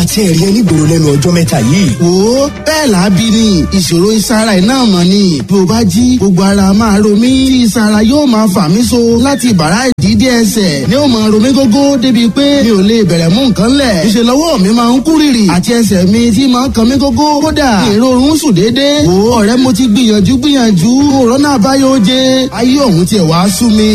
Àti ẹ̀rí ẹni gbòòrò lẹ́nu ọjọ́ mẹ́ta yìí. Wo, bẹ́ẹ̀ làábí ni ìṣòro ìsara iná mọ̀ ni. Bí o bá jí, gbogbo ara máa ro mí tí ìsara yóò máa fà mí so láti bàrá ìdídé ẹsẹ̀ ni ó máa ro mí gógó débi pé mi ò lè bẹ̀rẹ̀ mú nǹkan lẹ̀. Ìṣe lọ́wọ́ mi máa ń kú rìrì àti ẹsẹ̀ mi tí máa ń kan mí gógó. Kódà ìrorun sùn déédéé. Wo ọ̀rẹ́, mo ti gbìyànjú gbìyànjú, òrónà àbáyọ oje, ayé òun tiẹ̀ wá sú mi.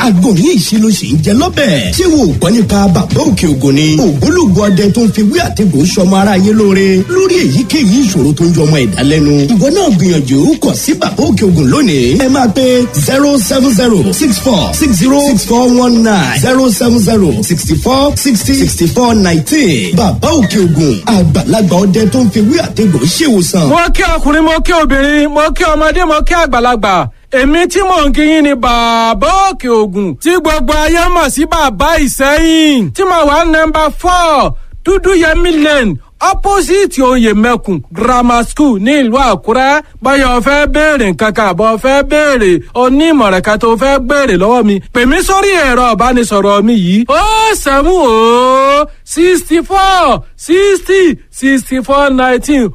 Àgbo ní ìṣe ló sì ń jẹ lọ́bẹ̀. Ṣé wo ò gbọ́ nípa Bàbá Òkè Ògùn ni? Ògbólógbò ọdẹ tó ń fi wí àtẹ̀gùn sọmọ ara yé lóore lórí èyíkéyìí ìṣòro tó ń jọmọ ẹ̀dá lẹ́nu. Ìwọ náà gbìyànjú kọ̀ sí Bàbá Òkè Ògùn lónìí. Ẹ máa pe 07064606419, 07064606419. Bàbá Òkè Ògùn, àgbàlagbà ọdẹ tó ń fi wí àtẹ̀gùn ṣèwòsàn. Mo kí ọkùnrin, mo kí obìnrin, mo kí ọmọdé, mo kí àgbàlagbà. Èmi tí mò ń kíyìn ni Bàbá Òkè Ògùn tí gbogbo ayé mọ̀ sí Bàbá Ìsẹ́yìn, tí mo wà nọ́mbà 4 Dúdú Yẹmí Lane, opposite Oyè Mẹ́kùn Grammar School ní ìlú Àkúrẹ́. Báyọ̀ fẹ́ béèrè nǹkan kan àbọ̀ fẹ́ béèrè onímọ̀ràn kan tó fẹ́ béèrè lọ́wọ́ mi, pè mí sórí ẹ̀rọ ìbánisọ̀rọ̀ mi yìí: 070 64 60 64 19,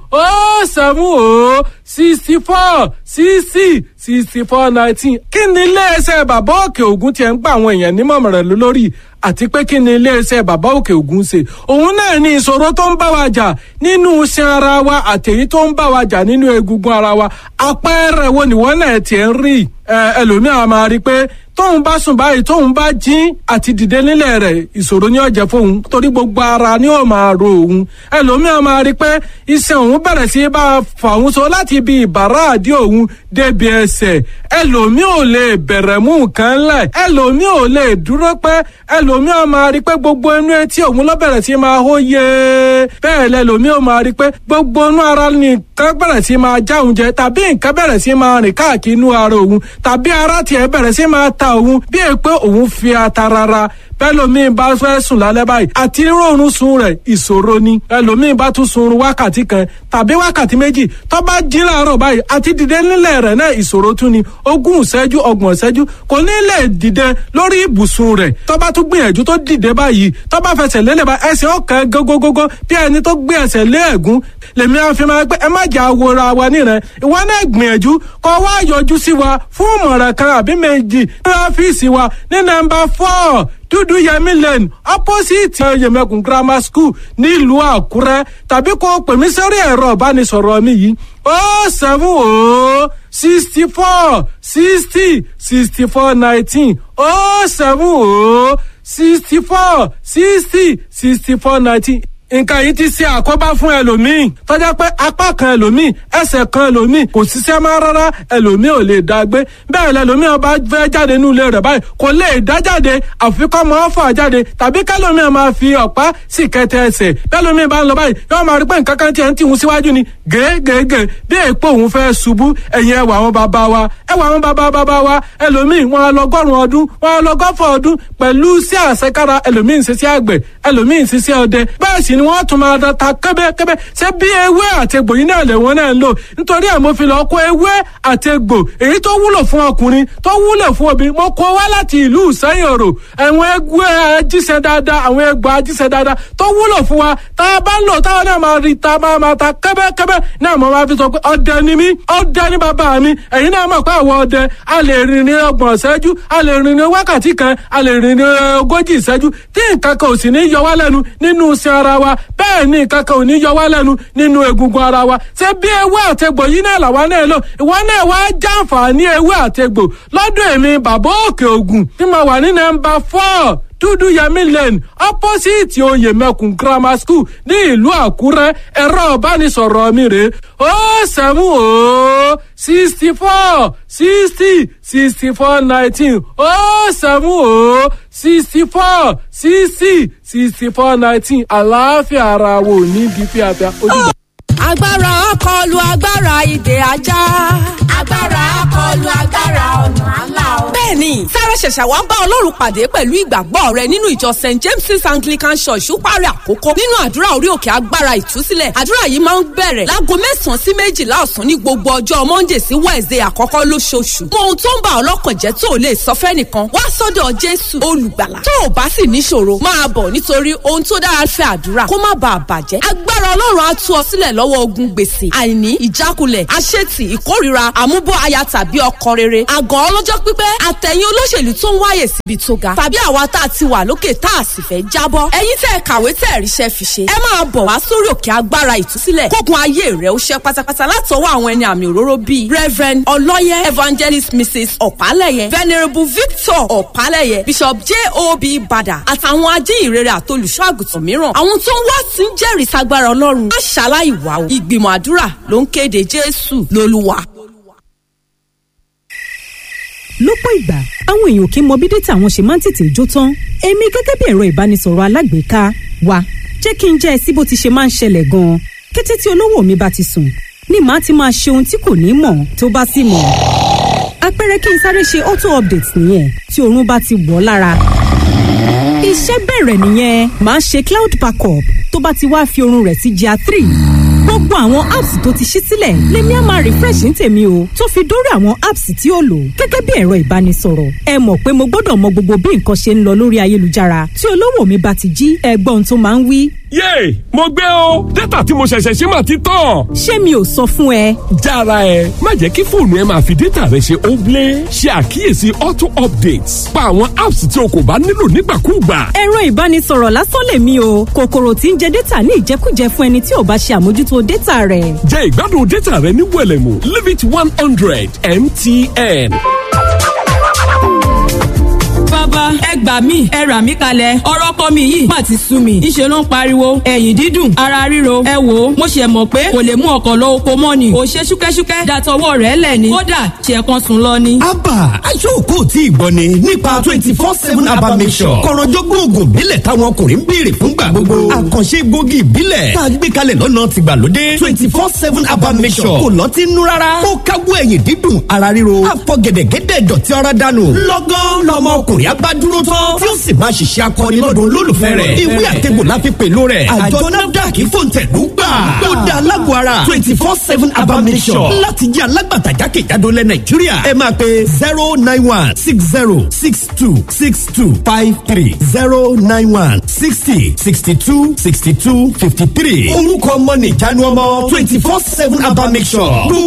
070 64 60 64 19. Kí ni iléeṣẹ́ Bàbá Òkè Ògùn tiẹ̀ ń gba àwọn èèyàn nímọ̀ràn lórí, àti pé kí ni iléeṣẹ́ Bàbá Òkè Ògùn ṣe? Òun náà ní ìṣòro tó ń bá wa jà nínú iṣan ara wa àtèyí tó ń bá wa jà nínú egungun ara wa. Àpẹẹrẹ wo nìwọ náà tiẹ̀ ń rí? Ẹlòmíà máa rí i pé tóun bá sùn báyìí, tóun bá jí, àti dìde nílẹ̀ rẹ̀ ìṣòro ni ó jẹ́ fóun, torí gbogbo ara ni ó máa ro òun. Ẹlòmíà máa rí i pé iṣan òun bẹ̀rẹ̀ sí bá a fà òun so láti ibi ìbàrá àdí òun débi ẹsẹ̀. Ẹlòmíà ò lè bẹ̀rẹ̀ mú nǹkan lẹ̀, ẹlòmíà ò lè dúró pẹ́. Ẹlòmíà máa rí i pé gbogbo inú etí òun ló bẹ̀rẹ̀ sí máa hó yé. Bẹ́ẹ̀ lẹlòmíà máa rí i pé gbogbo inú ara nìkan bẹ̀rẹ̀ sí máa já òun jẹ, tàbí nǹkan bẹ̀rẹ̀ sí máa rìn káàkiri inú ara òun, tàbí ara tiẹ̀ bẹ̀rẹ̀ sí máa ta òun bí è pé òun fi ata rárá. Bẹ́lòmíì bá fẹ́ sùn lálẹ́ báyìí, àti rọrùn sun rẹ̀ ìṣòro ni. Ẹlòmíì bá tún sun wákàtí kan tàbí wákàtí méjì, tó bá jí láàárọ̀ báyìí, àti dìde nílẹ̀ rẹ̀ náà ìṣòro tún ni. 20 ìṣẹ́jú, 30 ìṣẹ́jú, kò ní lè dìde lórí ibùsùn rẹ̀. Tó bá tún gbìyànjú tó dìde báyìí, tó bá fẹsẹ̀ lélẹ̀ bá, ẹsẹ̀ ọ̀kan gógógógó bí ẹni tó gbé ẹsẹ̀ lé ẹ̀gún. Lèmi á fi máa pé ẹ má jà wòra wa níran. Ìwọ náà gbìyànjú kó wá yọjú sí wa fún ìmọ̀ràn kan àbí méjì ní ọ́fíìsì wa ní nọ́mbà 4 Dúdú Yẹmí Lane, opposite Yẹmẹkùn Grammar School nílùú Àkúrẹ́, tàbí kó pè mí sórí ẹ̀rọ ìbánisọ̀rọ̀ mi yìí: 070 64 60 64 19, 070 64 60 64 19. Nǹkan yìí ti ṣe àkóbá fún ẹlòmíì tọ́já pé apá kan ẹlòmíì, ẹsẹ̀ kan ẹlòmíì kò ṣiṣẹ́ mọ́ rárá. Ẹlòmíì ò lè dá gbé bẹ́ẹ̀. Lẹlòmíì ọba fẹ́ jáde nínú ilé rẹ̀ báyìí, kò lè dá jáde, àfi kọ́ mọ́ ọ́fà jáde, tàbí kẹlòmíì máa fi ọ̀pá sì kẹtẹ ẹsẹ̀. Bẹ́lòmíì bá ń lọ báyìí, yóò máa rí pé nǹkan kan tiẹ̀ ń tìhun síwájú ni gègègè, bí èèpo òun fẹ́ ṣubú. Ẹ̀yìn ẹwà àwọn bàbá wa, ẹwà àwọn bàbá bàbá wa, ẹlòmíì wọn lọgọ́rùn ọdún, wọn lọgọ́fọ̀ ọdún pẹ̀lú sí àṣekára. Ẹlòmíì ń ṣiṣẹ́ àgbẹ̀, ẹlòmíì ń ṣiṣẹ́ ọdẹ, bẹ́ẹ̀ sì ni wọ́n tún máa da ta kẹ́bẹ́kẹ́bẹ́. Ṣé bí ewé àtegbò yìí náà lẹ̀wọ́n náà ń lò? Nítorí ẹ̀ mo fi lọ kó ewé àtegbò èyí tó wúlò fún ọkùnrin, tó wúlò fún obìnrin, mo kó wá láti ìlú Ìsẹ́yìn Òrò. Àwọn egbò ajíṣẹ́ dáadáa, àwọn egbò ajíṣẹ́ dáadáa tó wúlò fún wa, tá a bá ń lò táwọn náà máa rí ta máa máa ta kẹ́bẹ́kẹ́bẹ́ náà. Mo máa fi sọ pé ọdẹ ni mí, ọdẹ ni bàbá mi. Ẹ̀yin náà mọ̀ pé àwọn ọdẹ a lè rìn ní 30 ìṣẹ́jú, a lè rìn ní wákàtí kan, a lè rìn ní 40 ìṣẹ́jú, tí nǹkan kan ò sì ní yọ wá lẹ́nu nínú iṣan ara wa. Bẹ́ẹ̀ ni nǹkan kan ò ní yọ wá lẹ́nu nínú egungun ara wa. Ṣé bí ewé àtegbò yìí náà làwa náà lò? Ìwọ náà wá jàǹfààní ewé àtegbò lọ́dọ̀ èmi Bàbá Òkè Ògùn tí mo wà ní nọ́mbà 4 Dúdú Yẹmí Lane, opposite Oyè Mẹ́kùn Grammar School ní ìlú Àkúrẹ́. Ẹ̀rọ ìbánisọ̀rọ̀ mi rè: 070 64 60 64 19, 070 64 60 64 19. Àlàáfíà ara wo ní bí fíafíà ojúbọ. Agbára akọlù agbára ìdè ajá. Agbára akọlù agbára ọ̀nà àlà o. Bẹ́ẹ̀ni, sára ṣẹ̀ṣẹ̀ wá ń bá Ọlọ́run pàdé pẹ̀lú ìgbàgbọ́ rẹ nínú ìjọ St James's Anglican Church Úpàrẹ̀ Àkókò nínú àdúrà orí òkè agbára ìtúsílẹ̀. Àdúrà yìí máa ń bẹ̀rẹ̀ láago 9 sí 12 ọ̀sán ní gbogbo ọjọ́ Monday sí Wednesday àkọ́kọ́ lóṣooṣù. Mọ ohun tó ń bà ọlọ́kàn jẹ́ tó lè sọ fẹ́nìkan wá sọ́dọ̀ Jésù olùgbàlà. Tó o bá sì níṣòro máa bọ̀ nítorí ohun tó dára fẹ́ àdúrà kó má bàa bàjẹ́. Agbára Ọlọ́run á tú ọ sílẹ̀ lọ́wọ́ ogun gbèsè, àìní, ìjákulẹ̀, àṣetì, ìkórìíra, àmúbọ̀ aya tàbí ọkọ rere, àgàn ọlọ́jọ́ pípẹ́, àtẹ̀yìn olóṣèlú tó ń wáyè síbi tó ga, tàbí àwa tá a ti wà lókè tá a sì fẹ́ jábọ́. Ẹ̀yin tẹ́ ẹ kàwé tẹ́ ẹ ríṣẹ́ fi ṣe, ẹ máa bọ̀ wá sórí òkè agbára ìtúsílẹ̀ kógun ayé rẹ̀ ó ṣẹ́ pátápátá látọwọ́ àwọn ẹni àmì òróró bíi Reverend Ọlọ́yẹ, Evangelist Mrs. Ọ̀pálẹ̀yẹ, Venerable Victor Ọ̀pálẹ̀yẹ, Bishop J.O.B. Bada àtàwọn ajíhìnrere àtolùṣọ́ àgùntàn mìíràn. Àwọn tó ń wá sí ń jẹ́rìí sagbára Ọlọ́run. Má ṣaláì wá o. Ìgbìmọ̀ àdúrà ló ń kéde Jésù lólúwa. Lọ́pọ̀ ìgbà, àwọn èèyàn kì í mọ bí data wọn ṣe máa ń tètè jó tán. Èmi gẹ́gẹ́ bí ẹ̀rọ ìbánisọ̀rọ̀ alágbèéká wa, jẹ́ kí n jẹ́ ẹ sí bó ti ṣe máa ń ṣẹlẹ̀ gan-an. Kété tí olówó mi bá ti sùn ni màá ti máa ṣe ohun tí kò ní mọ̀ tó bá sì mọ̀. Àpẹẹrẹ kí n sáré ṣe auto update nìyẹn tí oorun bá ti wọ̀ lára. Iṣẹ́ bẹ̀rẹ̀ nìyẹn, màá ṣe cloud backup. Tó bá ti wá fi oorun rẹ̀ sí GIA 3, gbogbo àwọn apps tó ti ṣí sílẹ̀ lèmi á máa refresh ní tèmi o, tó fi dórí àwọn apps tí ó lò gẹ́gẹ́ bí ẹ̀rọ ìbánisọ̀rọ̀. Ẹ mọ̀ pé mo gbọ́dọ̀ mọ gbogbo bí nǹkan ṣe ń lọ lórí ayélujára. Tí olówó mi bá ti jí, ẹgbọ́n tó máa ń wí: "Yéè, mo gbé o, data tí mo ṣẹ̀ṣẹ̀ ṣe mà ti tán." "Ṣé mi ò sọ fún ẹ?" Jára ẹ, má jẹ́ kí fóònù ẹ máa fi data rẹ ṣe óblé. Ṣe àkíyèsí auto updates, pa àwọn apps tí o kò bá nílò nígbàkúùgbà. Ẹ̀rọ ìbánisọ̀rọ̀ lásán lèmi o, kòkòrò tí ń jẹ data ní ìjẹkújẹ fún ẹni tí ò bá ṣe àmójútó data rẹ̀. Jẹ́ ìgbádùn data rẹ ní wẹ̀lẹ̀mú. Limit 100 MTN. Bàbá, ẹ gbà mí, ẹ rà mí kalẹ̀, ọ̀rọ̀ kọ́ mi yìí má ti sú mi. Ńṣe ló ń pariwo, ẹ̀yìn dídùn, ara ríro. Ẹ wò ó, mo ṣe mọ̀ pé kò lè mú ọkọ̀ lọ oko mọ́ ni. Kò ṣe ṣúkẹ́ṣúkẹ́ dàtọwọ́ rẹ̀ lẹ̀ ni, kódà ṣe kan sùn lọ ni. Abba aṣọ́ọ̀kọ́ tí ì gbọ́ ni nípa 24/7 Abba Mixture, kọ̀rọ̀jọ́gbọ́n oògùn ìbílẹ̀ táwọn ọkùnrin ń béèrè fúngbà gbogbo, àkànṣe gbòógì ìbílẹ̀ tá a gbé kalẹ̀ lọ́nà tìgbàlódé. 24/7 Abba Mixture kò lọ́tí nú rárá, ó káwọ́ ẹ̀yìn dídùn, ara ríro, àfọ̀gẹ̀dẹ̀gẹ̀dẹ̀ dọ̀tí ara dànù lọ́gán lọ́mọ ọkùnrin abá dúró tán tí ó sì máa ṣiṣẹ́ akọni lọ́dún olólùfẹ́ rẹ̀. Ìwé àtẹ̀gbò la fi pèlú rẹ̀. Àjọ NAFDAC fòǹtẹ̀lú gbà. Ó da alágọ̀ ara 24/7 Abba Mixture láti jẹ́ alágbàtà jákèjádò lẹ̀ Nàìjíríà. Ẹ máa pe 09160626253, 09160626253. Orúkọ ọmọ nìjánu ọmọ 24/7 Abba Mixture.